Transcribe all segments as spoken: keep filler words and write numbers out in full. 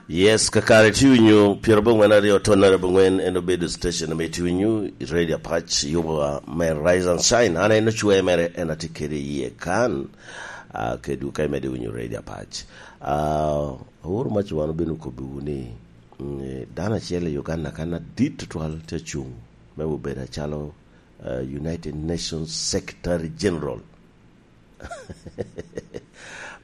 Yes, kakare tye winyo pyerabongwen aryo tonnere abongwen, en obedo station ame tye winyo i Radio Apac, yuba me Rise and Shine. An en ocwe mere, en atye kede iye kan, ah, kedwu ka imede winyo Radio Apac. Ah, aworo mac wan obino kobbiwu ni, mm, eh, dano acel i Uganda kan adit tutwal tye acung me obedo acalo, ah, United Nations Secretary General.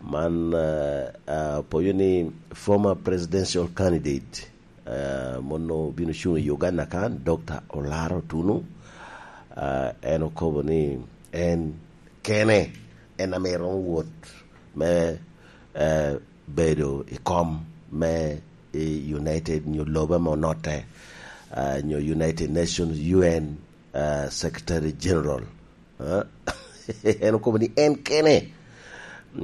Man, ah, ah, poyo ni former presidential candidate, ah, mono bino cuŋ i Uganda kan, Doctor Olaro Otunu, ah, en okobo ni en kene, en ame romo wot me, eh, bedo i kom me i United nyo lobo ame onotte, ah, nyo United Nations, U N, ah, Secretary General. Ah, en okobo ni en kene.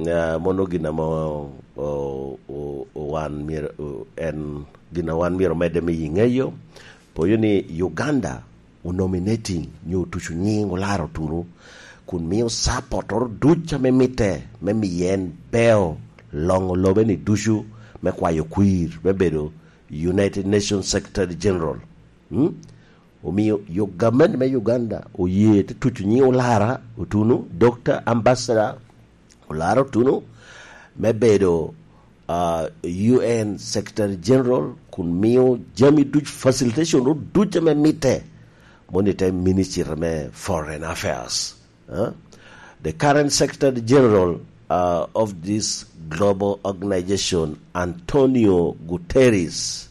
Ah, mono gin ame o-, o-, o-, o-, wan myero, o-, en gin a wan myero medde miyo i ŋeyo. Poyo ni Uganda onominating nyo otuco nyiŋ Olaro Otunu, kun mio support-oro duc ame mitte me miyo en beo loŋo lobe ni ducu me kwayo kwir me bedo United Nations Secretary General. Mm? Omio yo gamente me Uganda oye te tuco nyiŋ Olara Otunu, Doctor Ambassador Olara Otunu, me bedo, ah, U N Secretary General, kun mio jami duc, facilitation ro duc ame mitte, mono i te Ministry me Foreign Affairs. Eh? The current Secretary General, uh, of this global organization, Antonio Guterres,